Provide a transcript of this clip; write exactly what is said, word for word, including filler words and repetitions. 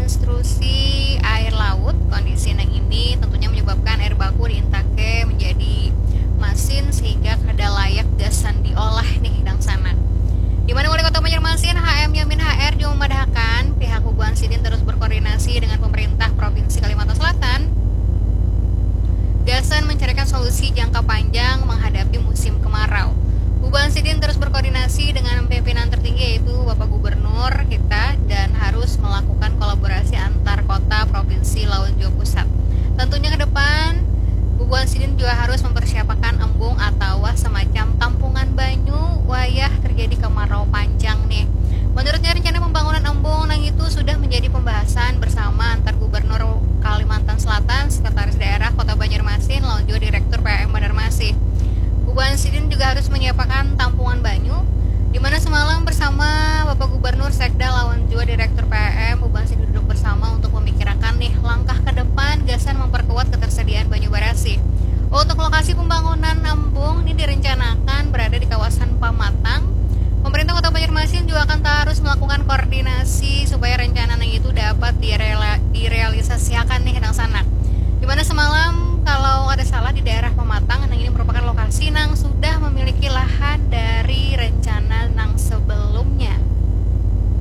Intrusi air laut, kondisi nang ini tentunya menyebabkan air baku diintake menjadi masin sehingga kada layak gasan diolah nih dangsanak. Di mana Wali Kota Banjarmasin, H M Yamin H R, juga memadahakan pihak Hubuan Sidin terus berkoordinasi dengan pemerintah Provinsi Kalimantan Selatan gasan mencarikan solusi jangka panjang menghadapi musim kemarau. Hubuan Sidin terus berkoordinasi dengan pimpinan tertinggi yaitu Bapak Gubernur kita dan harus melakukan kolaborasi antar kota, provinsi, lawan juga pusat. Tentunya ke depan Hubuan Sidin juga harus mempersiapkan embung atau semacam tampungan banyu wayah terjadi kemarau panjang nih. Menurutnya rencana pembangunan embung nang itu sudah menjadi pembahasan bersama antar Gubernur Kalimantan Selatan, Sekretaris Daerah Kota Banjarmasin, lawan juga Direktur P M Banjarmasin. Hubuan Sidin juga harus menyiapkan tampungan banyu, di mana semalam bersama Bapak Gubernur, Sekda, lawan juga Direktur P M, Hubuan Sidin duduk bersama untuk memikirkan nih langkah ke depan gasan memperkuat ketersediaan banyu barasih. Untuk lokasi pembangunan embung ini direncanakan berada di kawasan Pamatang. Pemerintah Kota Banjarmasin juga akan terus melakukan koordinasi supaya rencana nang itu dapat direla- direalisasikan nih dangsanak. Di mana semalam kalau ada salah di daerah Pamatang, nang ini merupakan lokasi nang sudah memiliki lahan dan